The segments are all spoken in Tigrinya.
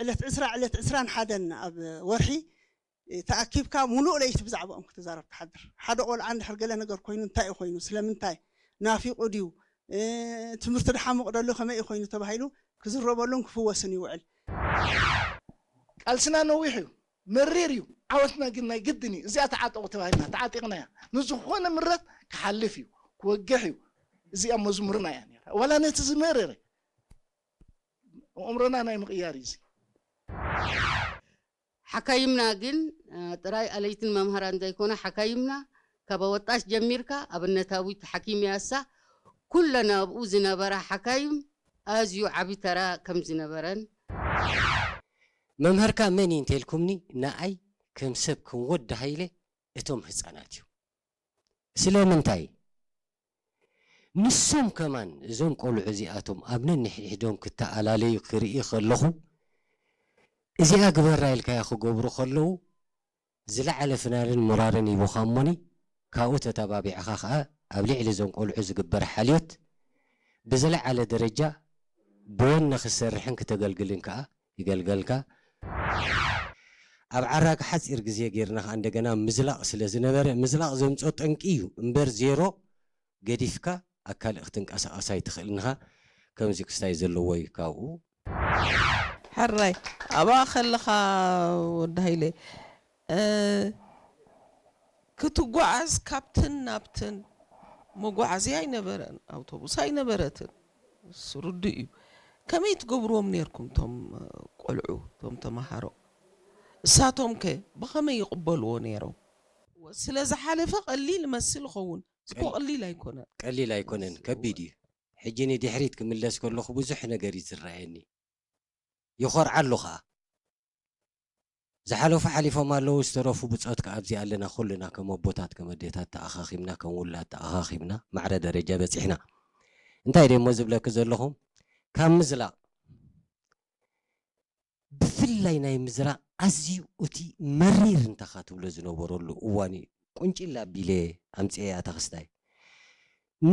ዕለት ዕስራ ዕለት ዕስራን ሓደን ኣብ ወርሒ ተኣኪብካ ሙሉእ ለይቲ ብዛዕባኦም ክትዛረብ ትሓድር። ሓደ ቆልዓ እንድሕር ገለ ነገር ኮይኑ እንታይ እዩ ኮይኑ፣ ስለምንታይ ናፊቑ ድዩ፣ ትምህርቲ ድሓሙቕ ደሎ ከመይ እዩ ኮይኑ ተባሂሉ ክዝረበሉን ክፍወስን ይውዕል። ቃልስና ነዊሕ እዩ፣ መሪር እዩ። ዓወትና ግን ናይ ግድን እዩ። እዚኣ ተዓጠቑ ተባሂልና ተዓጢቕናያ። ንዝኾነ ምረት ክሓልፍ እዩ፣ ክወግሕ እዩ። እዚኣ መዝሙርና እያ ነራ። ዋላ ነቲ ዝመረረ ኣእምሮና ናይ ምቕያር እዩ እዚ። ሓካይምና ግን ጥራይ ኣለይትን መምሃራን ዘይኮነ ሓካይምና ካብ ኣወጣሽ ጀሚርካ ኣብነታዊት ሓኪም ያሳ ኩለን ኣብኡ ዝነበራ ሓካይም ኣዝዩ ዓቢ ተራ ከም ዝነበረን መምህርካ መን እዩ እንተልኩምኒ ንኣይ ከም ሰብ ከም ወዲ ሃይለ እቶም ህፃናት እዩ ስለምንታይ ንሶም ከማን እዞም ቆልዑ እዚኣቶም ኣብ ነንሕድሕዶም ክተኣላለዩ ክርኢ ከለኹ እዚኣ ግበራ ኢልካያ ክገብሩ ከለዉ ዝለዓለ ፍናንን ሞራርን ሂቡኻ እሞኒ ካብኡ ተተባቢዕኻ ኸኣ ኣብ ልዕሊ እዞም ቆልዑ ዝግበር ሓልዮት ብዝለዓለ ደረጃ ብወነ ክትሰርሕን ክተገልግልን ከኣ ይገልገልካ። ኣብ ዓራቂ ሓፂር ግዜ ጌርና ከዓ እንደገና ምዝላቕ ስለ ዝነበረ ምዝላቕ ዘምፅኦ ጠንቂ እዩ እምበር ዜሮ ገዲፍካ ኣብ ካልእ ክትንቀሳቐስ ኣይትኽእልን ኢኻ። ከምዚ ክስታይ ዘለዎ እዩ ካብኡ። ሕራይ ኣብኣ ከለኻ ወዲ ሃይለ ክትጓዓዝ ካብትን ናብትን መጓዓዝያ ኣይነበረን፣ ኣውቶቡስ ኣይነበረትን። እሱ ርዱእ እዩ። ከመይ ትገብርዎም ነይርኩም እቶም ቆልዑ እቶም ተምሃሮ? እሳቶም ከ ብኸመይ ይቕበልዎ ነይሮም? ስለ ዝሓለፈ ቀሊል መስል ይኸውን፣ እኮ ቀሊል ኣይኮነን። ቀሊል ኣይኮነን፣ ከቢድ እዩ። ሕጂ ንድሕሪት ክምለስ ከለኹ ብዙሕ ነገር እዩ ዝረኣየኒ። ይኾርዓሉ ኸኣ። ዝሓለፉ ሓሊፎም ኣለዉ፣ ዝተረፉ ብጾት ከኣ ኣብዚ ኣለና፣ ኩልና ከም ኣቦታት፣ ከም ኣዴታት ተኣኻኺብና፣ ከም ውላድ ተኣኻኺብና ማዕረ ደረጃ በጺሕና። እንታይ ደሞ ዝብለኪ ዘለኹ፣ ካብ ምዝላቕ፣ ብፍላይ ናይ ምዝራቕ ኣዝዩ እቲ መሪር እንታኻ ትብሎ ዝነበረሉ እዋን እዩ። ቁንጭል ኣቢለ ኣምጽኤያ እታ ክስታይ።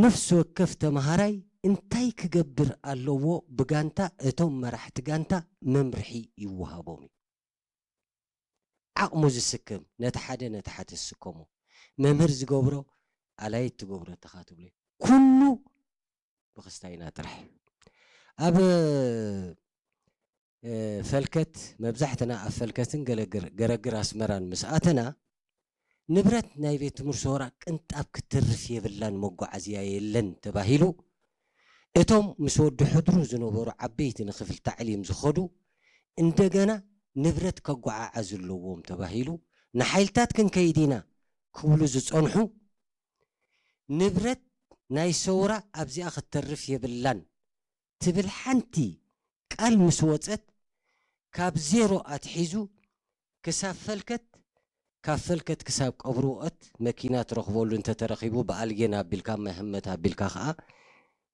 ነፍሲ ወከፍ ተምሃራይ እንታይ ክገብር ኣለዎ ብጋንታ እቶም መራሕቲ ጋንታ መምርሒ ይወሃቦም እዩ። ዓቕሙ ዝስከም ነቲ ሓደ ነቲ ሓደ ዝስከሞ መምህር ዝገብሮ ኣላይት ትገብሮ እታኻ ትብሎ ኩሉ ብክስታይና ጥራሕ እዩ። ኣብ ፈልከት መብዛሕትና ኣብ ፈልከትን ገረግር ኣስመራን ምስ ኣተና ንብረት ናይ ቤት ትምህርቲ ሰውራ ቅንጣብ ክትተርፍ የብላን መጓዓዝያ የለን ተባሂሉ እቶም ምስ ወዲ ሕድሩ ዝነበሩ ዓበይቲ ንክፍል ታዕሊም ዝኸዱ እንደገና ንብረት ከጓዓዓዙ ኣለዎም ተባሂሉ ንሓይልታት ክንከይድ ኢና ክብሉ ዝጸንሑ ንብረት ናይ ሰውራ ኣብዚኣ ክትተርፍ የብላን ትብል ሓንቲ ቃል ምስ ወጸት ካብ ዜሮ ኣትሒዙ ክሳብ ፈልከት ካብ ፈልከት ክሳብ ቀብሪ ወቐት መኪና ትረኽበሉ እንተተረኺቡ ብኣልጌን ኣቢልካ ማይ ህመት ኣቢልካ ኸኣ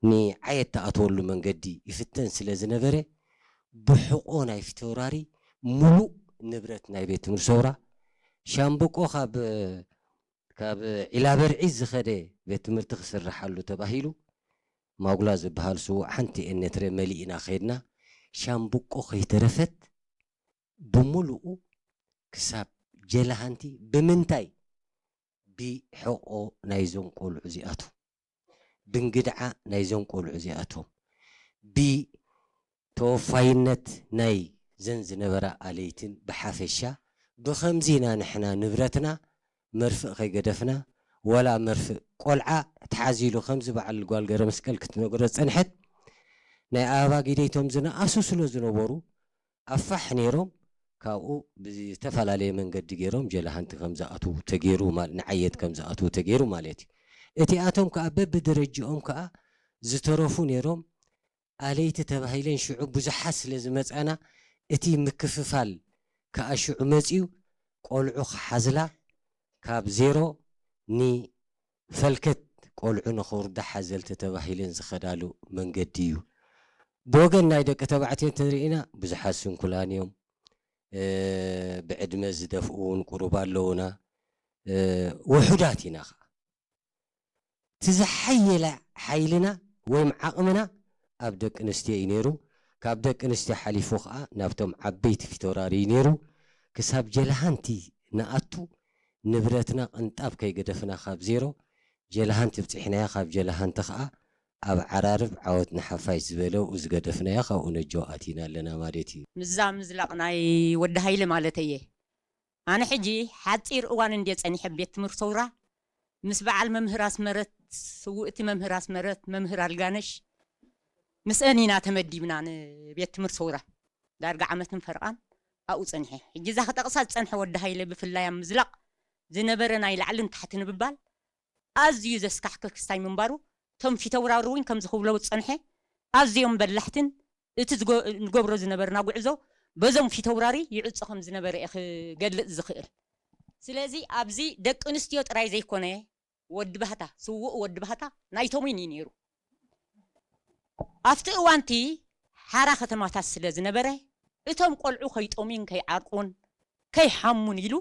ንዓየት ትኣትወሉ መንገዲ ይፍተን ስለ ዝነበረ ብሕቆ ናይ ፊተውራሪ ሙሉእ ንብረት ናይ ቤት ትምህርቲ ሰውራ ሻምብቆ ካብ ካብ ዒላበርዒ ዝኸደ ቤት ትምህርቲ ክስርሓሉ ተባሂሉ ማጉላ ዝበሃል ስዉእ ሓንቲ ኤነትረ መሊእና ከይድና ሻምብቆ ከይተረፈት ብምሉኡ ክሳብ ጀላሃንቲ ብምንታይ ብሕቆ ናይዞም ቆልዑ እዚኣቱ ብንግድዓ ናይዞም ቆልዑ እዚኣቶም ብተወፋይነት ናይ ዘን ዝነበራ ኣለይትን ብሓፈሻ ብኸምዚ ኢና ንሕና ንብረትና መርፍእ ከይገደፍና ወላ መርፍእ ቆልዓ ተሓዚሉ ከምዚ በዓል ጓል ገረ መስቀል ክትነግሮ ዝፀንሐት ናይ ኣበባ ጊደይቶም ዝነኣሱ ስለ ዝነበሩ ኣፋሕ ነይሮም ካብኡ ብዝተፈላለየ መንገዲ ገይሮም ጀላሃንቲ ከም ዝኣትዉ ተገይሩ ንዓየት ከም ዝኣትዉ ተገይሩ ማለት እዩ። እቲኣቶም ከዓ በብደረጅኦም ከዓ ዝተረፉ ነይሮም ኣለይቲ ተባሂለን ሽዑ ብዙሓት ስለ ዝመፃና እቲ ምክፍፋል ከዓ ሽዑ መፅዩ ቆልዑ ክሓዝላ ካብ ዜሮ ኒ ፈልከት ቆልዑ ንኸውርዳ ሓዘልቲ ተባሂለን ዝኸዳሉ መንገዲ እዩ። ብወገን ናይ ደቂ ተባዕትዮ እንተሪእና ብዙሓት ስንኩላን እዮም። ብዕድመ ዝደፍኡ እውን ቁሩብ ኣለውና። ውሑዳት ኢና ኸዓ። እቲ ዝሓየለ ሓይልና ወይም ዓቕምና ኣብ ደቂ ኣንስትዮ እዩ ነይሩ። ካብ ደቂ ኣንስትዮ ሓሊፉ ከዓ ናብቶም ዓበይቲ ፊተውራሪ እዩ ነይሩ። ክሳብ ጀልሃንቲ ንኣቱ ንብረትና ቅንጣብ ከይገደፍና ካብ ዜሮ ጀልሃንቲ ብፅሕናያ፣ ካብ ጀልሃንቲ ከዓ ኣብ ዓራርብ ዓወት ንሓፋሽ ዝበለ ኣብኡ ዝገደፍናዮ ካብኡ ነጆ ኣቲና ኣለና ማለት እዩ። ምዛ ምዝላቕ ናይ ወዲ ሃይለ ማለት እየ። ኣነ ሕጂ ሓፂር እዋን እንድየ ፀኒሐ ቤት ትምህርቲ ሰውራ ምስ በዓል መምህር ኣስመረት፣ ስውእቲ መምህር ኣስመረት፣ መምህር ኣልጋነሽ ምስአን ኢና ተመዲብና ንቤት ትምህርቲ ሰውራ ዳርጋ ዓመትን ፈርቓን ኣብኡ ፀኒሐ። ሕጂ እዛ ክጠቕሳ ዝፀንሐ ወዲ ሃይለ ብፍላይ ኣብ ምዝላቕ ዝነበረ ናይ ላዕልን ታሕቲ ንብባል ኣዝዩ ዘስካሕክህ ክስታይ ምንባሩ እቶም ፊተውራሪ እውን ከምዚ ክብሎ ዝፀንሐ ኣዝዮም በላሕትን እቲ ዝጎ- ንገብሮ ዝነበርና ጉዕዞ በዞም ፊተውራሪ ይዕጾ ከም ዝነበረ እየ ክገልጽ ዝኽእል። ስለዚ ኣብዚ ደቂ ኣንስትዮ ጥራይ ዘይኮነ ወዲ ባህታ፣ ስዉእ ወዲ ባህታ ናይቶም እውን እዩ ነይሩ። ኣብቲ እዋንቲ ሓራ ከተማታት ስለ ዝነበረ እቶም ቆልዑ ከይጠምዩን ከይዓርቁን ከይሓሙን ኢሉ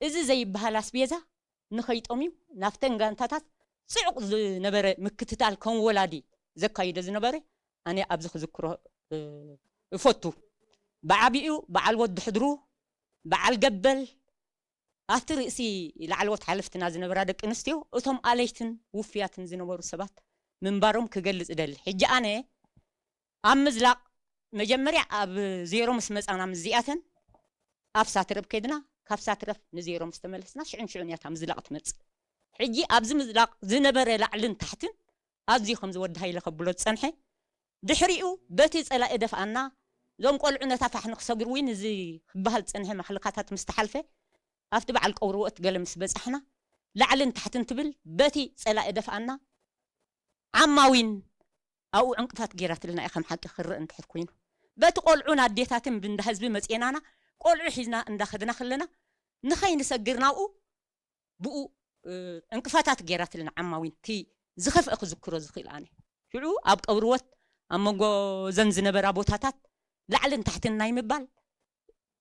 እዚ ዘይበሃል ኣስቤዛ ንኸይጠምዩ ናብተን ጋንታታት ጽዑቕ ዝነበረ ምክትታል ከም ወላዲ ዘካይዶ ዝነበረ ኣነ ኣብዚ ክዝክሮ እ፣ እፈቱ። ብዓቢኡ በዓል ወዲ ሕድሩ፣ በዓል ገበል፣ ኣብቲ ርእሲ ላዕለዎት ሓለፍትና ዝነበራ ደቂ ኣንስትዮ እቶም ኣለይትን ውፍያትን ዝነበሩ ሰባት ምንባሮም ክገልጽ እደሊ። ሕጂ ኣነ ኣብ ምዝላቕ መጀመርያ ኣብ ዜሮ ምስ መጻና ምስዚኣተን ኣብ ሳትረብ ከድና፣ ካብ ሳትረብ ንዜሮ ምስ ተመለስና ሽዑን ሽዑን እያ እታ ምዝላቕ ትመጽእ። ሕጂ ኣብዚ ምዝላቕ ዝነበረ ላዕልን ታሕትን ኣዝዩ ከምዚ ወዲ ሃይለ ከብሎ ዝጸንሐ ድሕሪኡ በቲ ጸላኢ ደፍኣና እዞም ቆልዑ ነታ ፋሕ ንክሰግሩ እውን እዚ ክበሃል ዝጸንሐ ማሕልካታት ምስ ተሓልፈ ኣብቲ በዓል ቀውርወት ገለ ምስ በጻሕና ላዕልን ታሕትን ትብል በቲ ጸላኢ ደፍኣና ዓማዊን ኣብኡ ዕንቅፋት ገይራትልና እያ ከም ሓቂ ክረአ እንድሕር ኮይኑ በቲ ቆልዑን ኣዴታትን ብንዳ ህዝቢ መጽኤናና ቆልዑ ሒዝና እንዳኸድና ከለና ንኸይንሰግር ናብኡ ብኡ እ፣ ዕንቅፋታት ገይራትልና ዓማዊን እቲ ዝኸፍአ ክዝክሮ ዝኽእል ኣነ ሽዑ ኣብ ቀብርወት ኣብ መንጎ ዘን ዝነበራ ቦታታት ላዕልን ታሕትን ናይ ምባል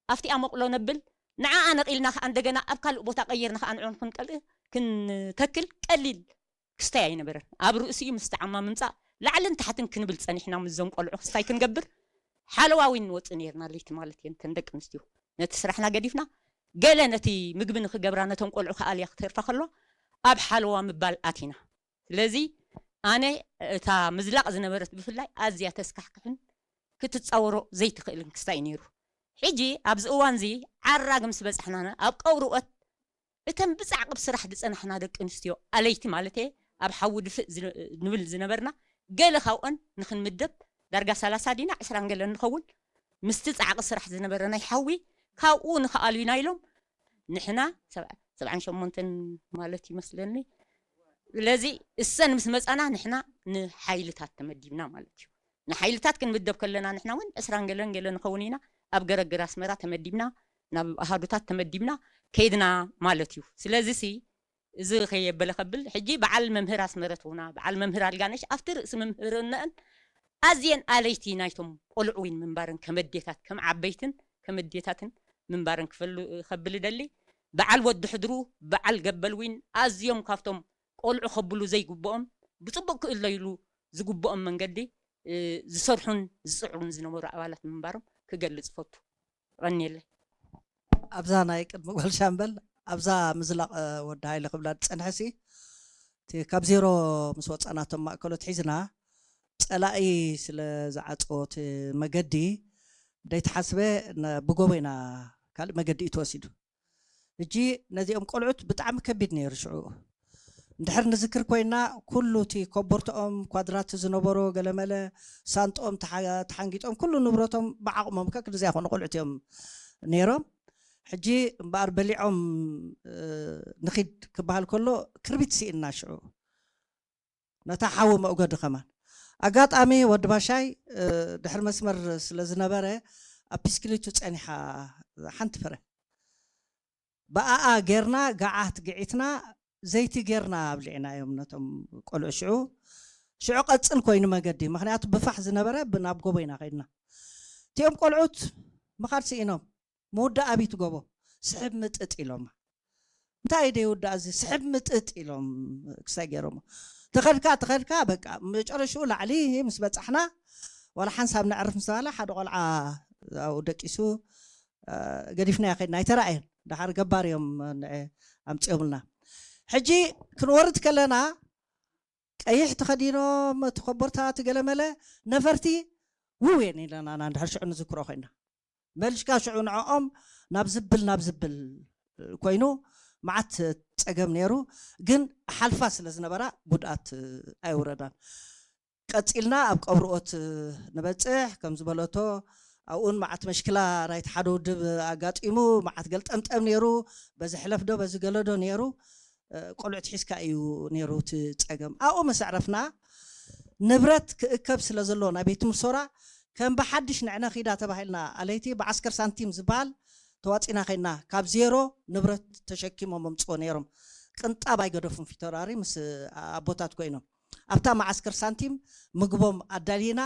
ኣብቲኣ መቕሎ ነብል ንዓኣ ነቒልና ከዓ እንደገና ኣብ ካልእ ቦታ ቀይርና ከዓ ንዕኦም ክንቀልእ ክንተክል ቀሊል ክስታይ ኣይነበረን ኣብ ርእሲኡ ምስቲ ዓማ ምምፃእ ላዕልን ታሕትን ክንብል ፀኒሕና ምስዞም ቆልዑ ክስታይ ክንገብር ሓለዋ እውን ንወፅእ ነይርና ለይቲ ማለት እየን እተን ደቂ ኣንስትዮ ነቲ ስራሕና ገዲፍና ገለ ነቲ ምግቢ ንክገብራ ነቶም ቆልዑ ከኣልያ ክተርፋ ከሎ ኣብ ሓለዋ ምባል ኣቲና ስለዚ ኣነ እታ ምዝላቕ ዝነበረት ብፍላይ ኣዝያ ተስካሕክሕን ክትፃወሮ ዘይትኽእልን ክስታይ ነይሩ ሕጂ ኣብዚ እዋን እዚ ዓራግ ምስ በፃሕና ኣብ ቀውርወት እተን ብፃዕቂ ብስራሕ ዝፀናሕና ደቂ ኣንስትዮ ኣለይቲ ማለት እየ ኣብ ሓዊ ድፍእ ዝን- ንብል ዝነበርና ገለ ካብኦን ንክንምደብ ዳርጋ ሰላሳ ዲና ዕስራን ገለን ንኸውን ምስቲ ፃዕቂ ስራሕ ዝነበረ ናይ ሓዊ ካብኡ ንክኣልዩና ኢሎም ንሕና ሰብዓ- ሰብዓን ሸሞንተን ማለት ይመስለኒ ስለዚ እሰን ምስ መፃና ንሕና ንሓይልታት ተመዲብና ማለት እዩ ንሓይልታት ክንምደብ ከለና ንሕና እውን ዕስራን ገለን ገለ ንኸውን ኢና ኣብ ገረግር ኣስመራ ተመዲብና ናብ ኣሃዱታት ተመዲብና ከይድና ማለት እዩ ስለዚ ሲ እዚ ከየበለ ከብል ሕጂ በዓል መምህር ኣስመረት ሆና በዓል መምህር ኣልጋነሽ ኣብቲ ርእሲ መምህርነአን ኣዝየን ኣለይቲ ናይቶም ቆልዑ ዊን ምንባርን ከም ኣዴታት ከም ዓበይትን ከም ኣዴታትን ምንባርን ክፈሉ ከብል ደሊ በዓል ወዲ ሕድሩ በዓል ገበል ዊን ኣዝዮም ካብቶም ቆልዑ ከብሉ ዘይግብኦም ብፅቡቅ ክእለይሉ ዝግብኦም መንገዲ እ፣ ዝሰርሑን ዝፅዕሩን ዝነበሩ ኣባላት ምንባሮም ክገልፅ ፈቱ። ቀኒየለይ። ኣብዛ ናይ ቅድሚ ጓል ሻምበል ኣብዛ ምዝላቕ እ፣ ወዲ ሃይለ ክብላ ዝፀንሐ ሲ እቲ ካብ ዜሮ ምስ ወፃናቶም ማእከሎት ሒዝና ፀላኢ ስለ ዝዓፀዎ እቲ መገዲ ደይተሓስበ ነ- ብጎቦ ኢና ካልእ መገዲ እዩ ተወሲዱ ሕጂ ነዚኦም ቆልዑት ብጣዕሚ ከቢድ ነይሩ ሽዑ እንድሕር ንዝክር ኮይና ኩሉ እቲ ኮቦርትኦም ኳድራት ዝነበሮ ገለመለ ሳንጥኦም ተሓ- ተሓንጊጦም ኩሉ ንብረቶም ብዓቕሞም ከክንዚኣ ኮኑ ቆልዑት እዮም ነይሮም ሕጂ እምበኣር በሊዖም እ፣ ንኺድ ክበሃል ከሎ ክርቢት ስኢንና ሽዑ ነታ ሓዊ መእጎዲ ከማን ኣጋጣሚ ወዲ ባሻይ እ፣ ድሕሪ መስመር ስለ ዝነበረ ኣብ ፒስክሊቱ ፀኒሓ ሓንቲ ፍረ ብኣኣ ጌርና ገዓት ግዒትና ዘይቲ ጌርና ኣብሊዕና እዮም ነቶም ቆልዑ ሽዑ ሽዑ ቀፅል ኮይኑ መገዲ ምክንያቱ ብፋሕ ዝነበረ ናብ ጎቦ ኢና ከይድና እቲኦም ቆልዑት ምኻድ ስኢኖም ምውዳእ ኣብይቲ ጎቦ ስሕብ ምጥጥ ኢሎማ እንታይ ደይ ውዳእ እዚ ስሕብ ምጥጥ ኢሎም ክሳይ ገይሮሞ ተኸድካ ተኸድካ በቃ መጨረሽኡ ላዕሊ ምስ በፃሕና ዋላ ሓንሳብ ነዕርፍ ምስ ተባሃለ ሓደ ቆልዓ ኣብኡ ደቂሱ ገዲፍናዮ ከድና ኣይተራእየን። ደሓር ገባር እዮም ኣምፂኦምልና። ሕጂ ክንወርድ ከለና ቀይሕ ተኸዲኖም እቲ ኮቦርታ እቲ ገለመለ ነፈርቲ ውው የን ኢለና ንድሕር ሽዑ ንዝክሮ ኮይና። መልሽካ ሽዑ ንዕኦም ናብ ዝብል ናብ ዝብል ኮይኑ መዓት ፀገም ነይሩ። ግን ሓልፋ ስለ ዝነበራ ጉድኣት ኣይውረዳን። ቀፂልና ኣብ ቀብርኦት ንበፅሕ ከም ዝበለቶ ኣብኡን መዓት መሽክላ ናይቲ ሓደ ውድብ ኣጋጢሙ መዓት ገልጠምጠም ነይሩ። በዚ ሕለፍ ዶ በዚ ገለ ዶ ነይሩ። ቆልዑት ሒዝካ እዩ ነይሩ እቲ ፀገም። ኣብኡ ምስ ኣዕረፍና ንብረት ክእከብ ስለ ዘሎ ናይ ቤት ምርሶራ ከም ብሓድሽ ንዕነ ኺዳ ተባሂልና ኣለይቲ ብዓስከር ሳንቲም ዝበሃል ተዋፂና ከይና ካብ ዜሮ ንብረት ተሸኪሞም ኣምፅዎ ነይሮም። ቅንጣብ ኣይገደፉን ፊተራሪ ምስ ኣቦታት ኮይኖም ኣብታ መዓስከር ሳንቲም ምግቦም ኣዳሊና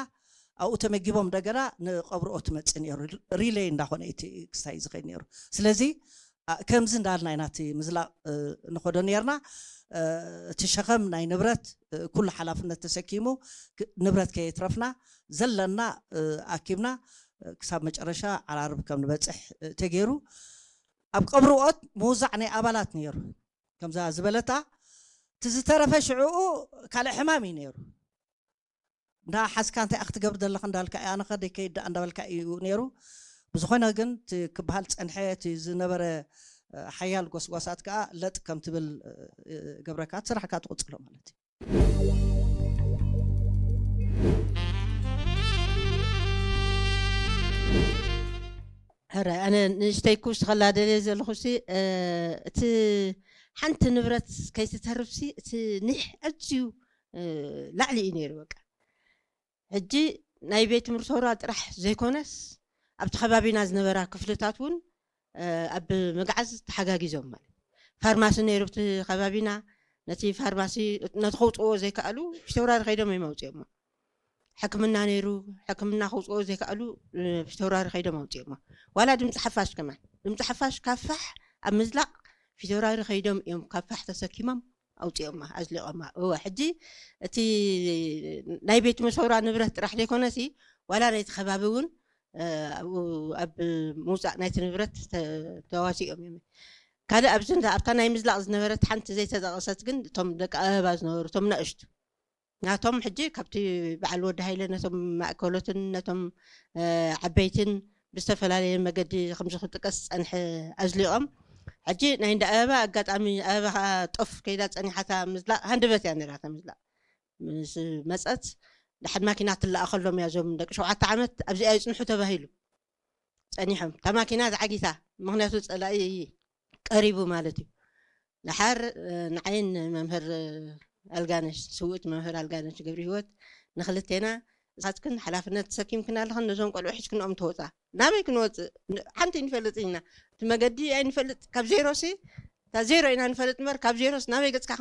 ኣብኡ ተመጊቦም እንደገና ንቐብርኦ ትመፅእ ነይሩ። ሪሌይ እንዳኾነ እቲ ክስታይ ዝኸይድ ነይሩ። ስለዚ ከምዚ እንዳልና ኢና እቲ ምዝላቕ ንኸዶ ነርና። እቲ ሸኸም ናይ ንብረት ኩሉ ሓላፍነት ተሰኪሙ ንብረት ከየትረፍና ዘለና ኣኪብና ክሳብ መጨረሻ ዓራርብ ከም ንበፅሕ ተገይሩ። ኣብ ቀብርኦት ምውዛዕ ናይ ኣባላት ነይሩ። ከምዛ ዝበለታ እቲ ዝተረፈ ሽዕኡ ካልእ ሕማም እዩ ነይሩ። እንዳ ሓዝካ እንታይ ክትገብር ዘለኻ እንዳልካ ኣነ ከደይ ከይዳ እንዳበልካ እዩ ነይሩ። ብዝኾነ ግን እቲ ክበሃል ፀንሐ እቲ ዝነበረ ሓያል ጎስጓሳት ከዓ ለጥ ከም ትብል ገብረካ እቲ ስራሕካ ትቕፅሎ ማለት እዩ። ሕረ ኣነ ንእሽተይ ክውስኸላ ደልየ ዘለኹ ሲ እቲ ሓንቲ ንብረት ከይትተርፍ ሲ እቲ ኒሕ ኣዝዩ ላዕሊ እዩ ነይሩ። በቃ ሕጂ ናይ ቤት ምርሶራ ጥራሕ ዘይኮነስ ኣብቲ ከባቢና ዝነበራ ክፍልታት እውን ኣብ ምግዓዝ ተሓጋጊዞም ማለት ፋርማሲ ነይሩ ኣብቲ ከባቢና። ነቲ ፋርማሲ ነቲ ከውፅዎ ዘይከኣሉ ፊተውራሪ ከይዶም እዮም ኣውፅኦሞ። ሕክምና ነይሩ ሕክምና ከውፅዎ ዘይከኣሉ ፊተውራሪ ከይዶም ኣውፅኦሞ። ዋላ ድምፂ ሓፋሽ ከማን ድምፂ ሓፋሽ ካብ ፋሕ ኣብ ምዝላቕ ፊተውራሪ ከይዶም እዮም ካብ ፋሕ ተሰኪሞም ኣውፅኦማ ኣዝሊቖማ። እወ ሕጂ እቲ ናይ ቤት መሰውራ ንብረት ጥራሕ ዘይኮነሲ ዋላ ናይቲ ከባቢ እውን ኣብኡ ኣብ ምውፃእ ናይቲ ንብረት ተዋሲኦም እዮም። ካልእ ኣብዚ ኣብታ ናይ ምዝላቕ ዝነበረት ሓንቲ ዘይተጠቐሰት ግን እቶም ደቂ ኣበባ ዝነበሩ እቶም ናእሽቱ ናቶም ሕጂ ካብቲ በዓል ወዲ ሃይለ ነቶም ማእከሎትን ነቶም ዓበይትን ብዝተፈላለየ መገዲ ከምዚ ክጥቀስ ዝፀንሐ ኣዝሊቖም ሕጂ ናይ እንዳ ኣበባ ኣጋጣሚ ኣበባ ከዓ ጦፍ ከይዳ ፀኒሓታ ምዝላቕ ሃንደበት እያ ነራታ ምዝላቕ ምስ መፀት ድሓን ማኪና ትለኣኸሎም እያ እዞም ደቂ ሸውዓተ ዓመት ኣብዚኣ ይፅንሑ ተባሂሉ ፀኒሖም እታ ማኪና ተዓጊታ ምክንያቱ ፀላኢ ቀሪቡ ማለት እዩ። ደሓር ንዓይን መምህር ኣልጋነሽ ስውእት መምህር ኣልጋነሽ ገብረ ህይወት ንክልቴና እሳትክን ሓላፍነት ተሰኪምክን ኣለኽን ነዞም ቆልዑ ሒዝክንኦም ተወፃ ናበይ ክንወፅእ ሓንቲ ንፈልጥ ኢና እቲ መገዲ ኣይንፈልጥ ካብ ዜሮ ሲ እታ ዜሮ ኢና ንፈልጥ እምበር ካብ ዜሮስ ናበይ ገፅካ